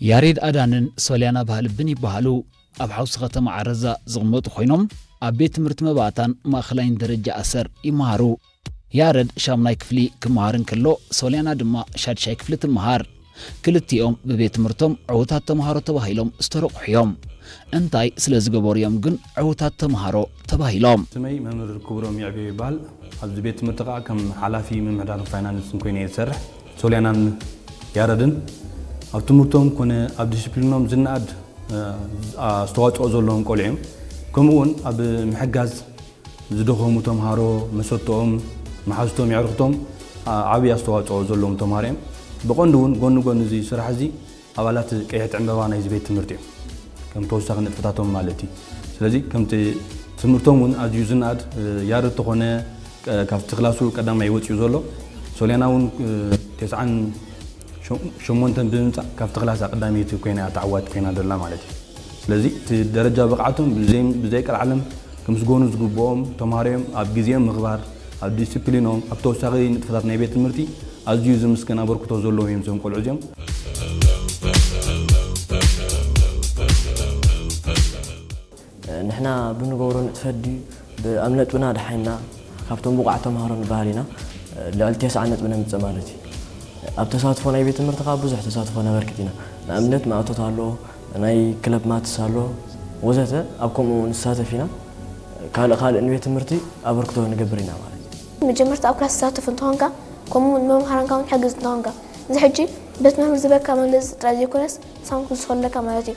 ያሬድ ኣዳንን ሶልያና ባህልብን ይበሃሉ። ኣብ ሓውሲ ከተማ ዓረዛ ዝቕመጡ ኮይኖም ኣብ ቤት ትምህርቲ መባእታን ማእኸላይን ደረጃ ኣሰር ይመሃሩ። ያረድ ሻምናይ ክፍሊ ክመሃር እንከሎ ሶልያና ድማ ሻድሻይ ክፍሊ ትመሃር። ክልቲኦም ብቤት ትምህርቶም ዕዉታት ተምሃሮ ተባሂሎም ዝተረቑሑ እዮም። እንታይ ስለ ዝገበሩ እዮም ግን ዕዉታት ተምሃሮ ተባሂሎም? ስመይ መምህር ክብሮም ይዕቤ ይበሃል። ኣብዚ ቤት ትምህርቲ ከዓ ከም ሓላፊ ምምሕዳር ፋይናንስን ኮይነ እየ ዝሰርሕ። ሶልያናን ያረድን ኣብ ትምህርቶም ኮነ ኣብ ዲስፕሊኖም ዝነኣድ ኣስተዋፅኦ ዘለዎም ቆልዑ እዮም። ከምኡ እውን ኣብ ምሕጋዝ ዝደኸሙ ተምሃሮ መሰተኦም፣ መሓዝቶም፣ የዕርኽቶም ዓብዪ ኣስተዋፅኦ ዘለዎም ተምሃሮ እዮም። ብቐንዱ እውን ጎኒ ጎኒ እዚ ስራሕ እዚ ኣባላት ቀይሕቲ ዕምበባ ናይዚ ቤት ትምህርቲ እዮም፣ ከም ተወሳኺ ንጥፈታቶም ማለት እዩ። ስለዚ ከምቲ ትምህርቶም እውን ኣዝዩ ዝነኣድ፣ ያረድ ተኾነ ካብቲ ክላሱ ቀዳማይ ወፂኡ ዘሎ፣ ሶልያና እውን ተስዓን ሸሞንተን ብምምፃእ ካብቲ ክላስ ቀዳመይቲ ኮይና እያ ተዓዋቲ ኮይና ደላ ማለት እዩ። ስለዚ እቲ ደረጃ ብቕዓቶም ብዘይ ብዘይቀልዓለም ክምስገኑ ዝግብኦም ተምሃሮ እዮም። ኣብ ግዜኦም ምኽባር፣ ኣብ ዲስፕሊኖም፣ ኣብ ተወሳኺ ንጥፈታት ናይ ቤት ትምህርቲ ኣዝዩ ዝምስገን ኣበርክቶ ዘለዎም እዮም እዞም ቆልዑ እዚኦም። ንሕና ብንገብሮ ንጥፈት ድዩ ኣብ ነጥብና ደሓይና ካብቶም ብቑዓት ተምሃሮ ንበሃል ኢና። ልዕሊ ተስዓ ነጥቢ ነምፅእ ማለት እዩ። ኣብ ተሳትፎ ናይ ቤት ትምህርቲ ከዓ ብዙሕ ተሳትፎ ነበርክት ኢና። ንኣብነት ማእቶት ኣሎ፣ ናይ ክለብ ማትስ ኣሎ ወዘተ ኣብ ከምኡ ንሳተፍ ኢና። ካልእ ካልእ ንቤት ትምህርቲ ኣበርክቶ ንገብር ኢና ማለት እዩ። መጀመርታ ኣብ ክላስ ትሳተፍ እንተኾንካ ከምኡ እውን ንመምሃራንካ እውን ትሕግዝ እንተኾንካ እዚ ሕጂ በቲ መምህር ዝበካ መግለፂ ጥራይ ዘይኮነስ ሳምኩ ዝኸለካ ማለት እዩ።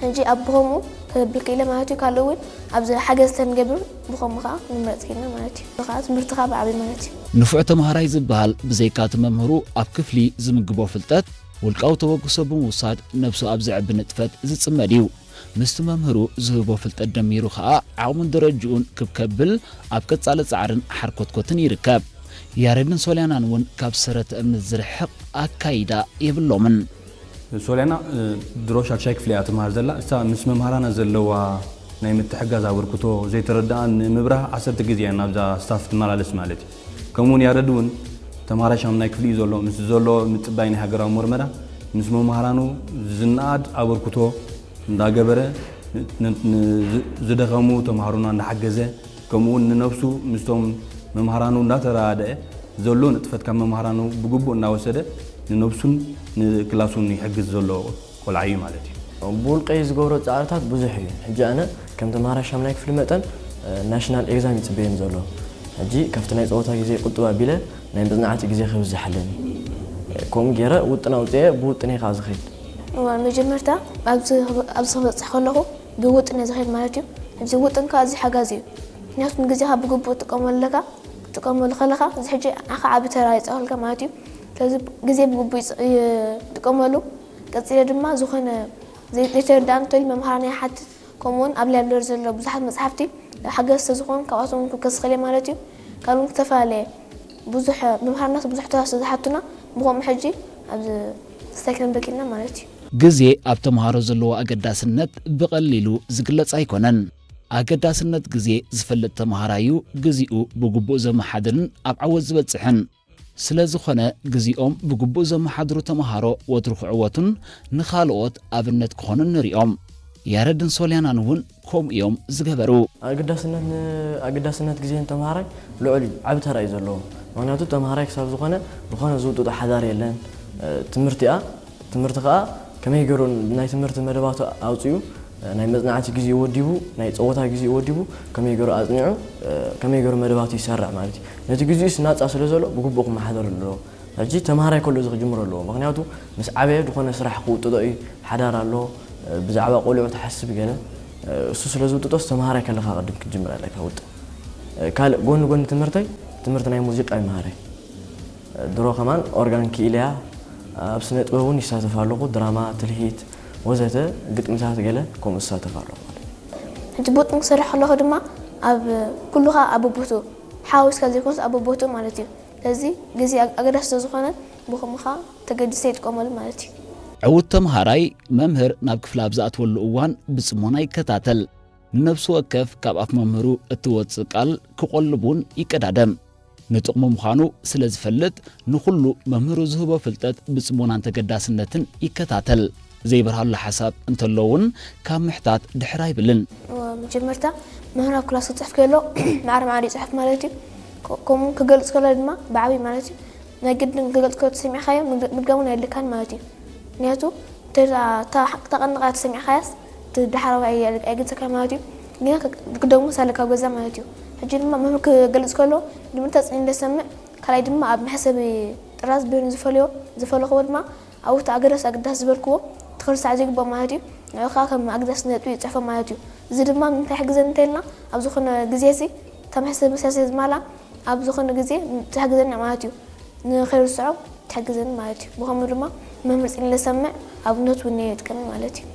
ሕጂ ኣብ ብኸምኡ ከብል ክኢለ ማለት እዩ። ካልእ እውን ኣብዚ ሓገዝ ተንገብር ብኸምኡ ከዓ ንምረፅ ክኢልና ማለት እዩ። ከዓ ትምህርቲ ከዓ ብዓብይ ማለት እዩ። ንፉዕ ተምሃራይ ዝበሃል ብዘይካ እቲ መምህሩ ኣብ ክፍሊ ዝምግቦ ፍልጠት ውልቃዊ ተበግሶ ብምውሳድ ነብሱ ኣብ ዘዕቢ ንጥፈት ዝፅመድ እዩ። ምስቲ መምህሩ ዝህቦ ፍልጠት ደሚሩ ከዓ ዓቕሙን ደረጅኡን ክብ ከብል ኣብ ቀፃሊ ፃዕርን ሓርኮትኮትን ይርከብ። ያሬድን ሶልያናን እውን ካብ ሰረተ እምነት ዝርሕቕ ኣካይዳ የብሎምን። ሶልያና ድሮ ሻድሻይ ክፍሊ እያ ትምሃር ዘላ። እሳ ምስ መምሃራና ዘለዋ ናይ ምትሕጋዝ ኣበርክቶ ዘይተረድኣን ንምብራህ ዓሰርተ ግዜ እያ ናብዛ ስታፍ ትመላለስ ማለት እዩ። ከምኡውን ያረድ እውን ተምሃራይ ሻምናይ ክፍሊ እዩ ዘሎ። ምስ ዘሎ ምጽባይ ናይ ሃገራዊ መርመራ ምስ መምሃራኑ ዝነኣድ ኣበርክቶ እንዳገበረ ዝደኸሙ ተምሃሮና እንዳሓገዘ ከምኡውን ንነብሱ ምስቶም መምሃራኑ እንዳተረዳድአ ዘሎ ንጥፈት ካብ መምሃራኑ ብግቡእ እናወሰደ ንነብሱን ንክላሱን ይሕግዝ ዘሎ ቆልዓ እዩ ማለት እዩ። ብውልቀይ ዝገብሮ ፃዕርታት ብዙሕ እዩ። ሕጂ ኣነ ከም ተምሃራይ ሻምናይ ክፍሊ መጠን ናሽናል ኤግዛም ይፅበየኒ ዘሎ። ሕጂ ካብቲ ናይ ፀወታ ግዜ ቁጥብ ኣቢለ ናይ መፅናዕቲ ግዜ ከብዝሓለኒ ከምኡ ገይረ ውጥን ኣውፅኤ ብውጥነይ ከዓ ዝኸይድ። እዋን መጀመርታ ኣብዚ ክበፅሕ ከለኹ ብውጥን እየ ዝኸይድ ማለት እዩ። እዚ ውጥን ከዓ እዚ ሓጋዚ እዩ። ምክንያቱ ንግዜኻ ብግቡእ ትጥቀመሉ ኣለካ። ክትጥቀመሉ ከለኻ እዚ ሕጂ ንዓኻ ዓቢ ተራ ይፃወተልካ ማለት እዩ። ስለዚ ግዜ ብግቡእ ይጥቀመሉ። ቀፂለ ድማ ዝኾነ ዘይተረዳእኒ እንተልዩ መምሃራና ይሓትት። ከምኡውን ኣብ ላይብረሪ ዘሎ ብዙሓት መፅሓፍቲ ሓገዝ ስለዝኾኑ ካብኣቶም እውን ክከስ ክእል ማለት እዩ። ካልእ እውን ዝተፈላለየ ብዙሕ መምሃርናት ብዙሕ ተራ ስለዝሓቱና ብኸምኡ ሕጂ ኣብዚ ስታይ ክንብል ክኢልና ማለት እዩ። ግዜ ኣብ ተምሃሮ ዘለዎ ኣገዳስነት ብቐሊሉ ዝግለጽ ኣይኮነን። ኣገዳስነት ግዜ ዝፈልጥ ተምሃራይ እዩ ግዜኡ ብግቡእ ዘመሓድርን ኣብ ዓወት ዝበጽሕን። ስለዝኾነ ግዜኦም ብግቡእ ዘመሓድሩ ተምሃሮ ወትሩ ክዕወቱን ንኻልኦት ኣብነት ክኾኑን ንሪኦም። ያረድን ሶልያናን እውን ከምኡ እዮም ዝገበሩ። ኣገዳስነት ን- ኣገዳስነት ግዜ ንተምሃራይ ልዑል እዩ፣ ዓቢ ተራ እዩ ዘለዎ። ምኽንያቱ ተምሃራይ ክሳብ ዝኾነ ዝኾነ ዝውጥጦ ሓዳር የለን። ትምህርቲኣ ትምህርቲ ከዓ ከመይ ገይሩ ናይ ትምህርቲ መደባቱ ኣውፂኡ ናይ መፅናዕቲ ግዜኡ ወዲቡ ናይ ፀወታ ግዜኡ ወዲቡ ከመይ ገይሩ ኣፅኒዑ ከመይ ገይሩ መደባቱ ይሰርዕ ማለት እዩ። ነቲ ግዜኡስ ናፃ ስለ ዘሎ ብግቡእ ክመሓደር ኣለዎ። ሕጂ ተምሃራይ ከሎ እዚ ክጅምር ኣለዎ። ምኽንያቱ ምስ ዓበየ ዝኾነ ስራሕ ክውጥጦ እዩ፣ ሓዳር ኣሎ፣ ብዛዕባ ቆልዑ ትሓስብ ገለ እሱ ስለ ዝውጥጦስ ተምሃራይ ከለኻ ቅድም ክትጅምር ኣለካ ውጥን። ካልእ ጎኒ ጎኒ ትምህርተይ ትምህርቲ ናይ ሙዚቃ ይምሃረይ። ድሮ ከማን ኦርጋን ክኢለያ ኣብ ስነ ጥበብ እውን ይሳተፍ ኣለኹ፣ ድራማ፣ ትልሂት ወዘተ ግጥምታት ገለ ከምኡ ዝሳተፍ ኣለኹ ማለት እዩ። ሕጂ ብውጥን ክሰርሕ ከለኹ ድማ ኣብ ኩሉ ከዓ ኣብ ቦቦትኡ ሓዋዊስካ ዘይኮነስ ኣብ ቦቦትኡ ማለት እዩ። ስለዚ ግዜ ኣገዳሲ ስለዝኾነ ብኸምኡ ከዓ ተገዲሰ ይጥቀመሉ ማለት እዩ። ዕዉት ተምሃራይ መምህር ናብ ክፍሊ ኣብ ዝኣትወሉ እዋን ብፅሞና ይከታተል። ንነብሱ ወከፍ ካብ ኣፍ መምህሩ እትወፅእ ቃል ክቖልብ እውን ይቀዳደም። ንጥቕሙ ምዃኑ ስለ ዝፈልጥ፣ ንኹሉ መምህሩ ዝህቦ ፍልጠት ብጽሞናን ተገዳስነትን ይከታተል። ዘይበርሃሉ ሓሳብ እንተሎ እውን ካብ ምሕታት ድሕር ኣይብልን። መጀመርታ መምህር ኣብ ክላስ ክፅሕፍ ከሎ ማዕረ ማዕረ ይፅሕፍ ማለት እዩ። ከምኡ ክገልፅ ከሎ ድማ ብዓብይ ማለት እዩ። ናይ ግድን ክገልፅ ከሎ ተሰሚዕካዮ ምድጋም እውን ኣየድልካን ማለት እዩ። ምክንያቱ ተቐንቃ ተሰሚዕካያስ ድሓራዊ ኣይገልፀካ ማለት እዩ። ግን ክደግሞ ሳለካ ገዛ ማለት እዩ። ሕጂ ድማ መምህር ክገልፅ ከሎ ንምንታይ ፅን ኢለ ሰምዕ ካልኣይ ድማ ኣብ መሕሰቢ ጥራዝ በይኑ ዝፈልዮ ዝፈለኽዎ ድማ ኣብኡ እቲ ኣገዳሲ ኣገዳሲ ዝበልክዎ ትኽርሳዕ ዘይግባእ ማለት እዩ። ንዑኻ ከም ኣገዳሲ ነጥቢ ይፅሕፎ ማለት እዩ። እዚ ድማ ንምንታይ ይሕግዘኒ እንተልና ኣብ ዝኾነ ግዜ ሲ እታ መሕሰቢ ስለ ዝማላ ኣብ ዝኾነ ግዜ ትሕግዘኒ ማለት እዩ። ንኸይርስዖ ትሕግዘኒ ማለት እዩ። ብኸምኡ ድማ መምህር ፅን ኢለ ሰምዕ ኣብነት እውን የጥቀኒ ማለት እዩ።